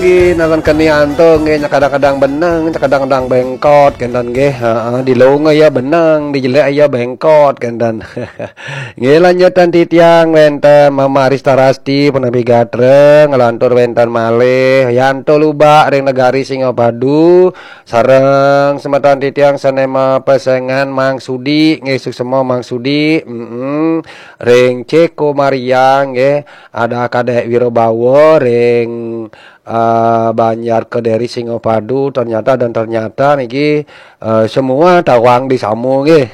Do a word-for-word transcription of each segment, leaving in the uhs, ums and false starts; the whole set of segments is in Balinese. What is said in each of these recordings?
Nalan kenian tu nggih, nyakadang-kadang beneng, nyakadang-kadang bengkot kenten nggih. Heeh, di lunga ya beneng, di jelek ya bengkot kenten. Nggih, lanjutan titiang wenten Mama Arista Rasti, punapi gatra, nglantur wenten malih Yanto Lubak ring negari Singapadu, sareng semeton titiang sane mapesengan Mang Sudi, nggih, suksema Mang Sudi, mm, ring Ceko Maria, nggih, ada Kadek Wirabawa ring eh, Banjar Kediri Singapadu, ternyata dan ternyata niki eh, semua tawang di Samu nggih.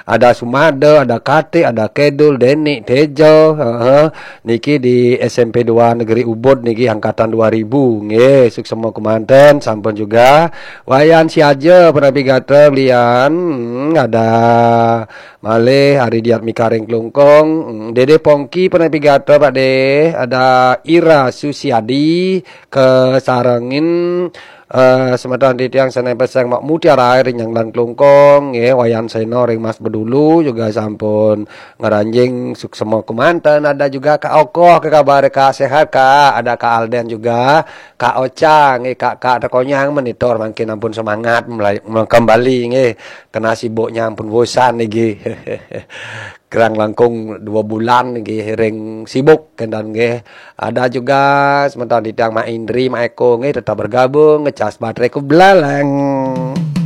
Ada Sumada, ada Kati, ada Kedul, Deni, Tejo, heeh. Niki di S M P dua Negeri Ubud niki angkatan dua ribu nggih. Suksema kemanten sampun juga. Wayan Siaja, punapi gatra belian, hmm, ada malih Ari Diatmika ring Klungkung, hmm, Dede Pongki, punapi gatra Pak De, ada Ira Susiadi, kasarengin eh, semeton titiang sane peseng Mak Mutiara ring Nyanglan Klungkung, nggih, Wayan Seno ring Mas Bedulu juga sampun ngranjing suksema kemanten. Ada juga Kak Okoh, ke kabar Kak, sehat Kak? Ada Kak Alden juga, Kak Oca, nggih, Kak, Kak Tekonyang menitor mangkin ampun semangat mulai kembali nggih. Kena sibuknya ampun bosan nggih. Kerang langkung dua bulan nggih ring sibuk kenten nggih. Ada juga semeton titiang Mak Indri, Mak Eko nggih tetap bergabung ngecas baterai ku belalang.